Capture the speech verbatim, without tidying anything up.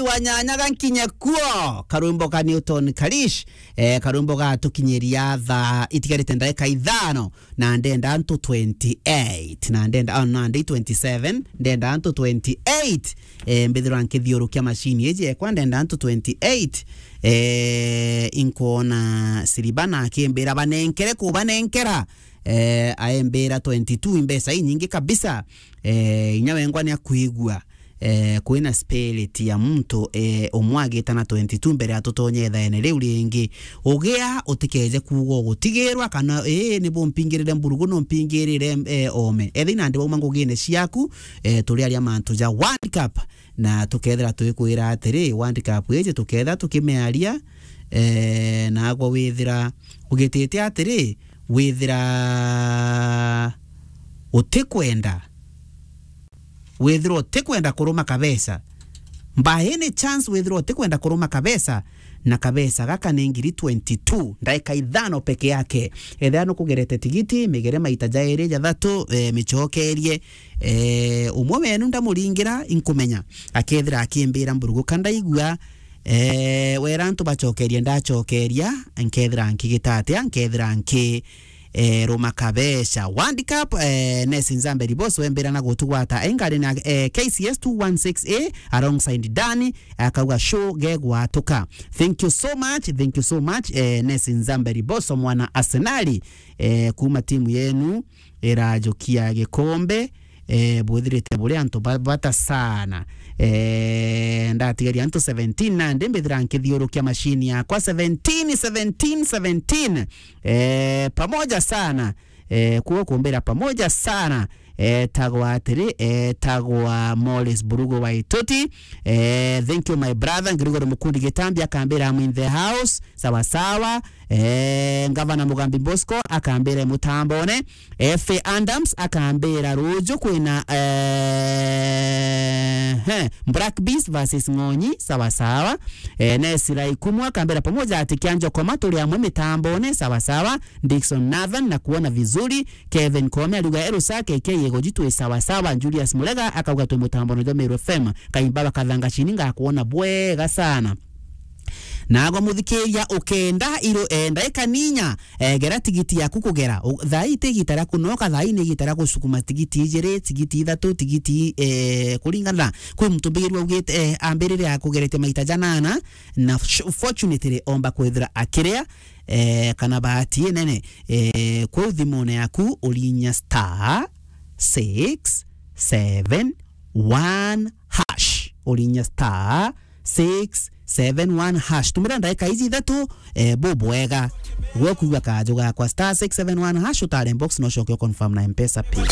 kwa nyanya gankinye kuo. Karwimbo ka Newton Kalish, eh, karwimbo gatukinyiria thaa itigarite ndagika ithano, na ndenda antu twenty-eight, na ndenda, oh, na ndi twenty-seven, ndenda antu twenty-eight, eh, mbithirwa nkithiurukia machine iji ekwa, ndenda antu twenty-eight, eh, inkwona Siribana akimbira banenkere kubanenkera, eh, aembira twenty-two, imbeca inyingi kabisa. Eh, inya wengwa ni akwigua, eh, kwina spirit ya muntu, eh, umwe agitana twenty-two mbere ya tutonye ithaene riu ringi. Ugia utikeje kuuga ugutigirwa kana, ii, ni bumpingirire mburugu, no mpingirire, eh, ome. Ethira nandi bauma ngugine ciaku, eh, turi aria mantu ja World Cup, na tukethira tugikwira atiri, World Cup iji tukethira tukimiaria, eh, nagwe withira ugitite atiri, withira utikwenda, withira utikwenda kuruma kabesa, by any chance withira utikwenda kuruma kabesa, na kabesa gaka ni ngiri twenty-two, ndaika ithano peke yake. Ethira nukugerete tigiti, migere maita jairi, jathatu, eh, micokerie, eh, umwe wenu ndamuringira, inkumenya, akethira akimbira mburugu ka ndaigua, eh, wera antu bacokerie, ndacokeria, nkethira nkigita atia, nkethira nki, eh, ruma kabesha. World Cup, eh, Nesi Nzambe Ribos wembira na gutugwata engari na, eh, K C S two one six A alongside Dani, akauga show gegwatuka. Thank you so much, thank you so much, eh, Nesi Nzambe Ribos, mwana Arsenali, eh, kuma timu yenu irajukia gikombe, eh, bwithirite buri antu ba-, bata sana. Eh, ndatigaria antu seventeen, nandi mbithira nkithiurukia machine yakwa seventeen, seventeen, seventeen. Eh, pamoja sana. Eh, kuo kumbira pamoja sana. Eh, tagwa atiri, eh, tagwa Morris Burugu wa Ituti. Eh, thank you my brother. Ngirigori Mukundi Gitambi akambira, "I'm in the house." Sawa sawa. Eh, Ngavana Mugambi Bosco akambira mutambone. F A Adams akambira ruju kwina, eh, he, Black Beast versus Ng'onyi, sawa sawa. Eh, Nesira Ikumu akambira pamoja ati kia Njokoma turi amwe mitambone, sawa sawa. Dickson Nathan na kuona vizuri. Kevin Kome ariuga, "Ero sake ke yego jitwe sawa sawa." Julius Murega akauga, "Twe mutambone jwa Meru F M. Kaimba bakathanga chini ngakuona bwega sana." Nagwa muthikiria ukenda iro, eh, ndaika ninya, eh, gera tigiti yaku kugera. U-, thaa ii ti igita ria kunoka, thaa ii ni igita ria gusukuma tigiti ijiri, tigiti ithatu, tigiti, eh, kuringana. Kwi muntu mbigirwa augite, eh, ambirire akugerete maita janana, na sh-, fortunately omba kwithira akiria, eh, kana bahati inene, eh, kwou thimune yaku urinya star six seven one hash. Urinya star six seven one hash. Tumira ndaika iji ithatu, eh, bubwega. Gwe kuigua kajo gakwa star six seven one hash, utare box no coke confirm na M-Pesa pin.